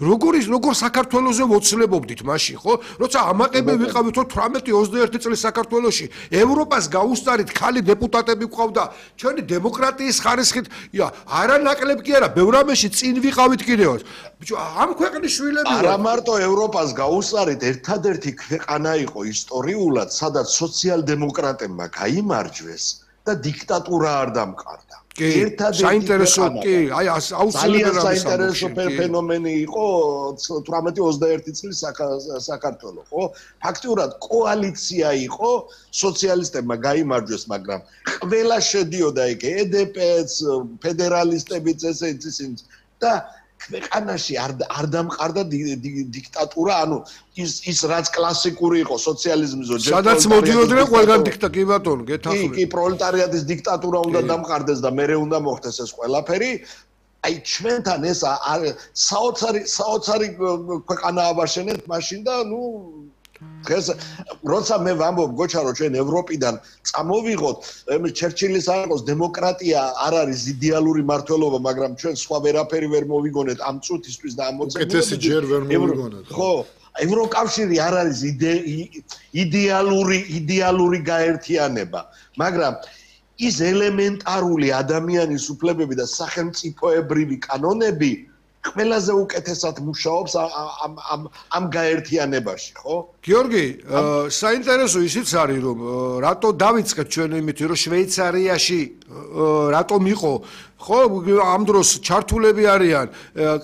როგორ საქართველოზე მოცლებობდით მაშინ, ხო? როცა ამაყები ვიყავით 18-21 წლის საქართველოში, ევროპას გაუსწარით ხალი დეპუტატები ყავდა, ჩვენი დემოკრატიის ხარისხით, არანაკლებ კი არა, ბევრ რამეში წინ ვიყავით კიდევ. ბიჭო, ამ ქვეყნის შვილები არა მარტო ევროპას გაუსწარით, ერთადერთი ქვეყანა იყო ისტორიულად, სადაც სოციალ-დემოკრატებმა გაიმარჯვეს და დიქტატურა არ დამყარდა. საინტერესო კი, აი აუცილებელი საინტერესო ფენომენი იყო 18-21 წლის საქართველო, ხო? ფაქტიურად კოალიცია იყო, სოციალისტებმა გაიმარჯვეს, მაგრამ ყველა შედიოდა იქ EDP-ც, ფედერალისტებიც ესეც და ქვეყანაში არ დამყარდა დიქტატურა, ანუ ის რაც კლასიკური იყო სოციალიზმის სადაც მოდიოდნენ ყველგან კი ბატონო, გეთახმები. კი, პროლეტარიატის დიქტატურა უნდა დამყარდეს და მერე უნდა მოხდეს ეს ყველაფერი. აი ჩვენთან ეს საოცარი ქვეყანა აბაშენეთ მაშინ და დღეს როცა მე ვამბობ გოჩა რომ ჩვენ ევროპიდან წამოვიღოთ ჩერჩილის არ იყოს დემოკრატია არ არის იდეალური მართლობა მაგრამ ჩვენ სხვა ვერაფერი ვერ მოვიგონეთ ამ წუთისთვის და ამ მოცემულობით ჯერ ვერ მოვიგონეთ ხო ევროკავშირი არ არის იდეალური გაერთიანება მაგრამ ის ელემენტარული ადამიანის უფლებები და სახელმწიფოებრივი კანონები ყველაზე უკეთესად მუშაობს ამ გაერთიანებაში, ხო? გიორგი, საინტერესო ისიც არის, რომ რატო დავიწყეთ ჩვენ იმით, რომ შვეიცარიაში რატომ იყო, ხო, ამ დროს ჩართულები არიან,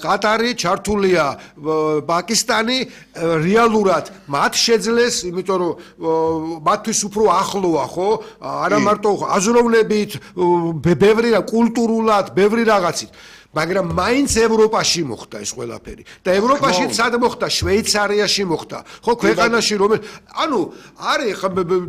ყატარი ჩართულია, პაკისტანი რეალურად მათ შეძლეს, იმიტომ რომ მათთვის უფრო ახლოა, ხო? არა მარტო აზროვნებით, ბევრი რა კულტურულად, ბევრი რაღაცით. მაგრამ მაინც ევროპაში მოხდა ეს ყველაფერი და ევროპაში სად მოხდა შვეიცარიაში მოხდა ხო ქვეყანაში რომელიც ანუ არის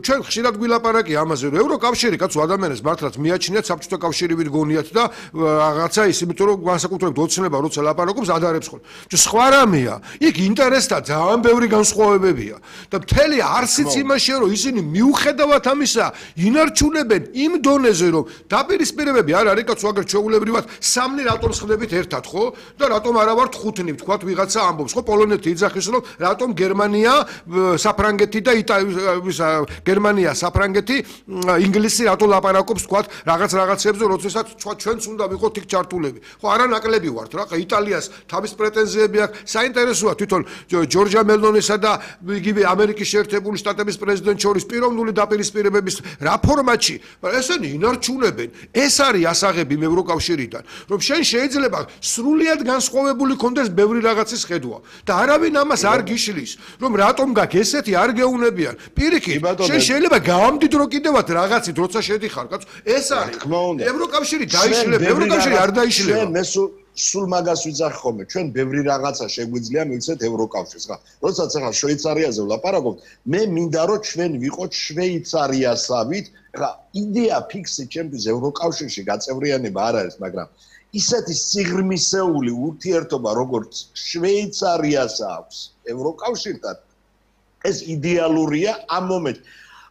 ჩვენ ხშირად გვილაპარაკია ამაზე რომ ევროკავშირი კაცო ადამიანებს მართლაც მიაჩნიათ საბჭოთა კავშირივით გონიათ და რაღაცა ის იმიტომ რომ განსაკუთრებით ოცნება როცა ლაპარაკობს ადარებს ხოლმე სხვა რამეა იქ ინტერესთა ძალიან ბევრი განსხვავებებია და მთელი არსიც იმაშია რომ ისინი მიუხედავად ამისა ინარჩუნებენ იმ დონეზე რომ დაპირისპირებები არ არის კაცო აგერ ჩვეულებრივად სამნი რატომ ხდებით ერთად ხო და რატომ არა ვართ ხუთნი ვთქვათ ვიღაცა ამბობს ხო პოლონეთი იძახის რომ რატომ გერმანია საფრანგეთი და გერმანია საფრანგეთი ინგლისი რატო ლაპარაკობს ვთქვათ რაღაცებზე როდესაც ჩვენც უნდა ვიყოთ იქ ჩართულები ხო არა ნაკლები ვართ რა იტალიას თავის პრეტენზიები აქვს საინტერესოა თვითონ ჯორჯა მელონისა და იგივე ამერიკის შეერთებული შტატების პრეზიდენტ შორის პიროვნული დაპირისპირებების რა ფორმატში ესენი ინარჩუნებენ ეს არის ასაღები ევროკავშირიდან რომ შენ შეიძლება სრულიად განსხვავებული კონდეს ბევრი რაღაცის ხედვა და არავინ ამას არ გიშლის რომ რატომ გაქვს ესეთი არ გეუნებიან პირიქით შენ შეიძლება გავამდიდრო კიდევაც რაღაცით როცა შედიხარ კაცო ეს არის ევროკავშირი დაიშლება ევროკავშირი არ დაიშლება მე სულ მაგას ვიძახ ხოლმე ჩვენ ბევრი რაღაცა შეგვიძლია მივცეთ ევროკავშირს ხა როდესაც ახლა შვეიცარიაზე ვლაპარაკობთ მე მინდა რომ ჩვენ ვიყოთ შვეიცარიასავით ხა იდეა ფიქსი ჩემთვის ევროკავშირში გაწევრიანება არ არის მაგრამ ისეთი სიღრმისეული ურთიერთობა როგორც შვეიცარიას აქვს ევროკავშირთან ეს იდეალურია ამ მომენტში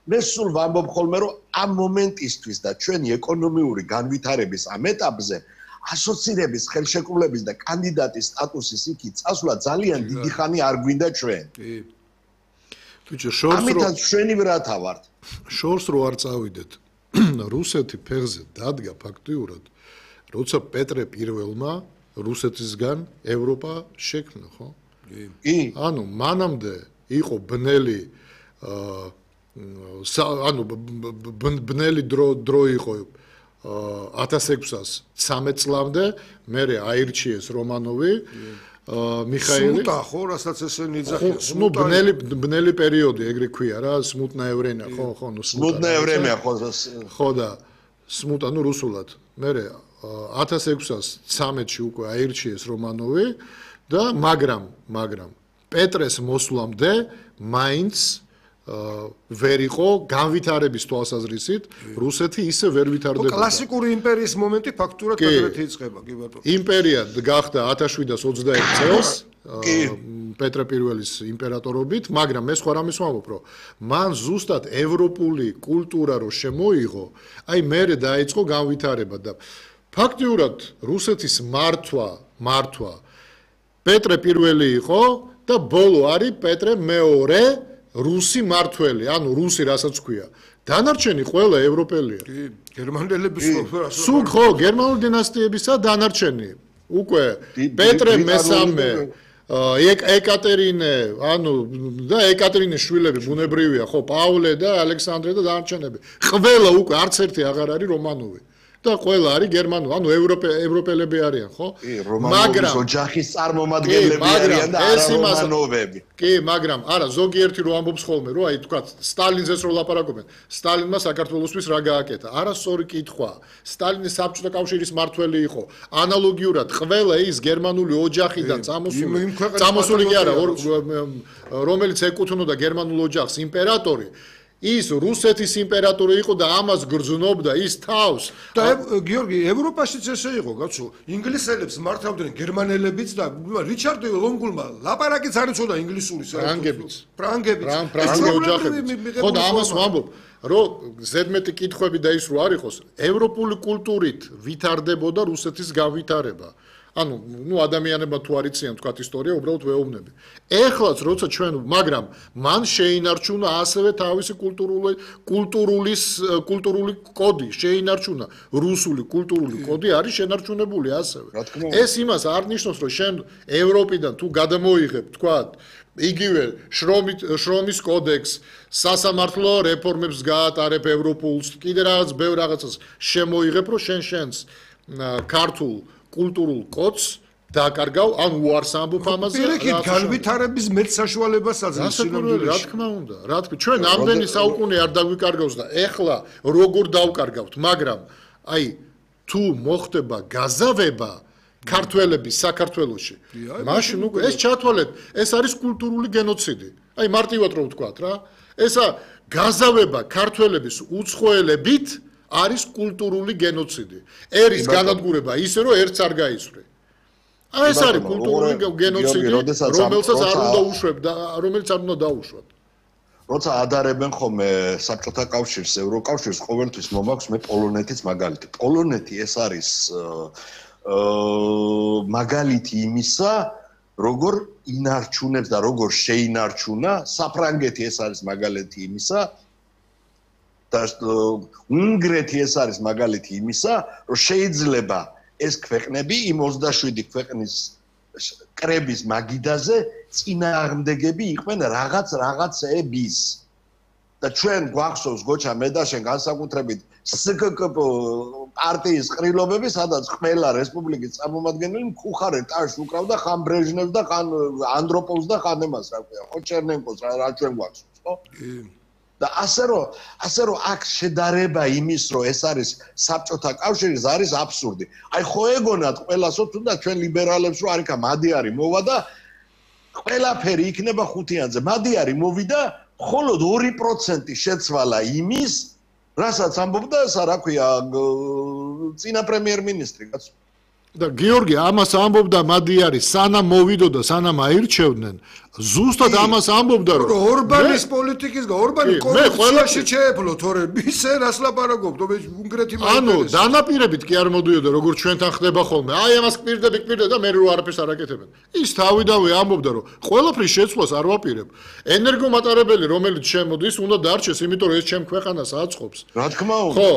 მე სულ ვამბობ ხოლმე რომ ამ მომენტისთვის და ჩვენი ეკონომიური განვითარების ამ ეტაპზე ასოცირების ხელშეკრულების და კანდიდატის სტატუსის იქით წასვლა ძალიან დიდი ხანი არ გვინდა ჩვენ ბიჭო შორს ამიტომ ჩვენი ვრათა ვართ შორს რო არ წავიდეთ რუსეთი ფეხზე დადგა ფაქტიურად როცა პეტრე პირველმა რუსეთისგან ევროპა შექმნა, ხო? კი. ანუ მანამდე იყო ბნელი ანუ ბნელი დრო იყო 1613 წლამდე, მერე აირჩიეს რომანოვი მიხაილი. სმუტა ხო, რასაც ესენი იძახიან. ნუ ბნელი პერიოდი ეგრე ქვია რა, სმუტნა ევრენია, ხო, ნუ სმუტნა ევრენია ხო. ხო და სმუტა ნუ რუსულად. მერე 1613-ში უკვე აირჩიეს რომანოვი და მაგრამ პეტრეს მოსვლამდე მაინც ვერ იყო განვითარების თვალსაზრისით რუსეთი ისე ვერ ვითარდებოდა. კლასიკური იმპერიის მომენტი ფაქტურად პეტრეთი იწყება, კი ბატონო. იმპერია გახდა 1721 წელს პეტრე პირველის იმპერატორობით, მაგრამ მე სხვა რამეს ვამბობ, რომ მან ზუსტად ევროპული კულტურა რო შემოიღო, აი მერე დაიწყო განვითარება და ფაქტიურად რუსეთის მართვა პეტრე პირველი იყო და ბოლო არის პეტრე მეორე რუსი მართველი, ანუ რუსი რასაც ქვია. დანარჩენი ყველა ევროპელია. კი, გერმანელების სულ ხო, გერმანული დინასტიებისა დანარჩენი. უკვე პეტრე მესამე ეკატერინე, ანუ და ეკატერინეს შვილები ბუნებრივია, ხო, პავლე და ალექსანდრე და დანარჩენები. ყველა უკვე არც ერთი აღარ არის რომანოვი. და ყველა არის გერმანული, ანუ ევროპელები არიან, ხო? მაგრამ ოჯახის წარმომადგენლები არიან და არა რომანოვები. კი, მაგრამ არა, ზოგიერთი რო ამბობს ხოლმე, რომ აი თქვა სტალინზეც რო ლაპარაკობენ, სტალინმა საქართველოსთვის რა გააკეთა? არასწორი კითხვა. сталиნის საბჭოთა კავშირის მართველი იყო. ანალოგიურად ყველა ის გერმანული ოჯახიდან წამოსული კი არა, რომელიც ეკუთვნოდა გერმანულ ოჯახს, იმპერატორი ის რუსეთის იმპერატორი იყო და ამას გრძნობდა ის თავს. და გიორგი, ევროპაშიც ესე იყო, კაცო. ინგლისელებს მართავდნენ გერმანელებიც და რიჩარდ ლონგულმა ლაპარაკიც არ იცოდა ინგლისურის. ფრანგებიც. ხო და ამას ვამბობ, რომ ზედმეტი კითხვები და ის რო არ იყოს, ევროპული კულტურით ვითარდებოდა რუსეთის განვითარება. ანუ, ადამიანებმა თუ არ იციან თქვა ისტორია, უბრალოდ ვეუბნები. ეხლაც როცა ჩვენ, მაგრამ მან შეინარჩუნა ასევე თავისი კულტურული კოდი, შეინარჩუნა რუსული კულტურული კოდი არის შენარჩუნებული ასევე. ეს იმას არ ნიშნავს, რომ შენ ევროპიდან თუ გადამოიღებ, თქვა იგივე შრომის კოდექს, სასამართლო რეფორმებს გაატარებ ევროპულს, კიდე რაღაც ბევრ რაღაცას შემოიღებ, რომ შენს ქართულ კულტურულ კოდს დაკარგავ, ან უარს ამბობ ამაზე. პირიქით განვითარების მეტ საშუალებას აძლევს სინამდვილეში. რა თქმა უნდა, ჩვენ ამდენი საუკუნე არ დაგვიკარგავს და ეხლა როგორ დავკარგავთ, მაგრამ აი თუ მოხდება გაზავება ქართველების საქართველოში, მაშინ უკვე ეს ჩათვალეთ, ეს არის კულტურული გენოციდი. აი მარტივად რომ ვთქვათ რა, ესა გაზავება ქართველების უცხოელებით არის კულტურული გენოციდი. ერის განადგურება ისე რომ ერთს არ გაიცვლი. ეს არის კულტურული გენოციდი, რომელსაც არ უნდა უშვებ და რომელიც არ უნდა დაუშვათ. როცა ადარებენ ხოლმე საბჭოთა კავშირს, ევროკავშირს, ყოველთვის მომაქვს მე პოლონეთის მაგალითი. პოლონეთი ეს არის მაგალითი იმისა, როგორ ინარჩუნებს და როგორ შეინარჩუნა, საფრანგეთი ეს არის მაგალითი იმისა, და უნგრეთი ეს არის მაგალითი იმისა, რომ შეიძლება ეს ქვეყნები იმ 27 ქვეყნის კრების მაგიდაზე წინააღმდეგები იყვნენ რაღაცეების. და ჩვენ გვახსოვს გოჩა მე და შენ განსაკუთრებით SKKP პარტიის ყრილობები, სადაც ყველა რესპუბლიკის წარმომადგენელი მკუხარეთ ტაშს უკრავდა ხან ბრეჟნევს და ხან ანდროპოვს და ხან ემას რა ქვია, ხო ჩერნენკოს რა ჩვენ გვახსოვს, ხო? და ასე რომ აქ შედარება იმის, რომ ეს არის საბჭოთა კავშირი, არის აბსურდი. აი ხო ეგონათ ყველასო თუნდაც ჩვენ ლიბერალებს რომ არიქა მადიარი მოვა და ყველაფერი იქნება ხუთიანზე. მადიარი მოვიდა, მხოლოდ 2% შეცვალა იმის, რასაც ამბობდა ესა რა ქვია, წინა პრემიერ-მინისტრი, კაცო. და გიორგი ამას ამბობდა მადიარი, სანამ მოვიდოდა, სანამ აირჩევდნენ, ზუსტად ამას ამბობდა, რომ ორბანის პოლიტიკის ორბანი კონსტიტუციაში შეეფლო, თორე ისე რას ლაპარაკობ, უნგრეთი ანუ დანაპირებით კი არ მოდიოდა, როგორც ჩვენთან ხდება ხოლმე. აი ამას კვირდები და მე რო არაფერს არ აკეთებენ. ის თავიდანვე ამბობდა, რომ ყველაფრის შეცვლას არ ვაპირებ. ენერგომატარებელი, რომელიც შემოდის, უნდა დარჩეს, იმიტომ რომ ეს ჩემ ქვეყანას აწყობს. რა თქმა უნდა. ხო,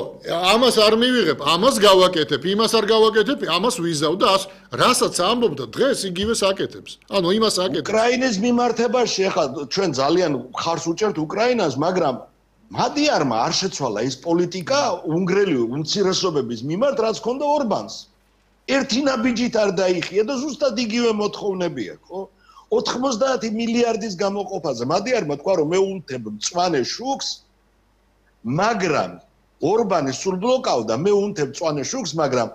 ამას არ მივიღებ, ამას გავაკეთებ, იმას არ გავაკეთებ, ამას ვიზავ და რასაც ამბობდა დღეს იგივეს აკეთებს. ანუ იმას აკეთებს. უკრაინის მიმართებაში ახლა ჩვენ ძალიან ხარს უჭერთ უკრაინას, მაგრამ მადიარმა არ შეცვალა ის პოლიტიკა უნგრელი უმცირესობების მიმართ, რაც ჰქონდა ორბანს. ერთი ნაბიჯით არ დაიხია და ზუსტად იგივე მოთხოვნები აქვს, ხო? 90 მილიარდის გამოყოფაზე. მადიარმა თქვა, რომ მე ულთებ მწვანე შუქს, მაგრამ ორბანი სულ ბლოკავდა, მე ულთებ მწვანე შუქს, მაგრამ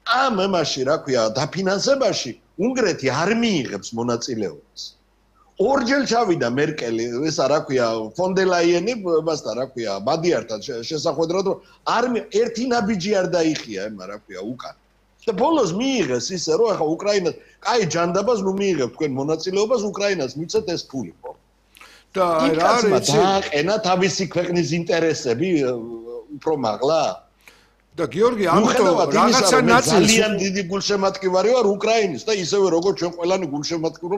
ამ ემაში, რა ქვია, დაფინანსებაში უნგრეთი არ მიიღებს მონაწილეობას. ორჯერ ჩავიდა მერკელი, ესა რა ქვია, ფონდელაიენი, მასთან რა ქვია, მადიართან შესახვედრად, რომ ერთი ნაბიჯი არ დაიხია, ემა რა ქვია, უკან. და ბოლოს მიიღეს ისე, რომ ახლა უკრაინას, კაი ჯანდაბას ნუ მიიღებ თქვენ მონაწილეობას, უკრაინას მიცეთ ეს ფული, ხო? და რა არის დააყენა თავისი ქვეყნის ინტერესები უფრო მაღლა? და გიორგი, ამიტომ რაღაცა ნაწილს ძალიან დიდი გულშემატკივარი ვარ უკრაინის და ისევე როგორც ჩვენ ყველანი გულშემატკივრობ